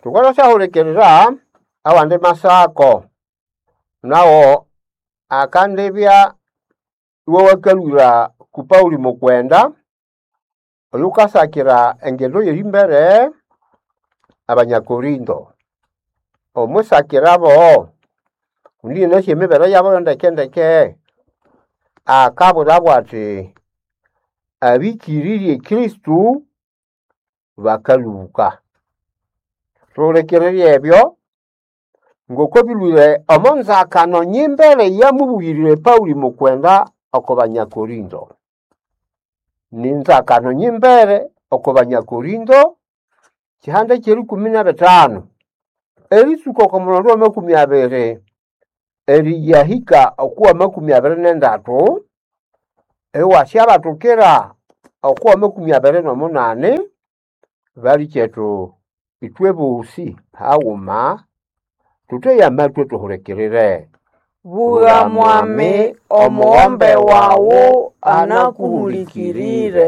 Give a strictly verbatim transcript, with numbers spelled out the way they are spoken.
Thukalhasyahulikirira awandi masako nawo akandibya iwawakalhwira ku Pauli mukwenda oyukasakira engendo y'erimbere Abanyakorinto. Omwisakirabo kundi inasi emibere yabo yondekendeke akabwirabo athi abĩkĩrĩrye Kristo bakalũbũka. Thuhulikirire ebyo ngoko bilhwire omo nzakano nyimbere eyamubugirire Pauli mukwenda oko Banyakorinto. Ninzakano nyimbere oko Banyakorinto kihanda ky'erikumi n'ebithanu eritsuka oko mulhondo w'amakumi abiri eriyahika oku w'amakumi abiri n'endatu iwasyabathukira oku w'amakumi abiri n'omunani balikyethu ithwe bosi haghuma thutheye amatwi thuhulikirire. Bugha mwami omughombe wawu anakuhulikirire.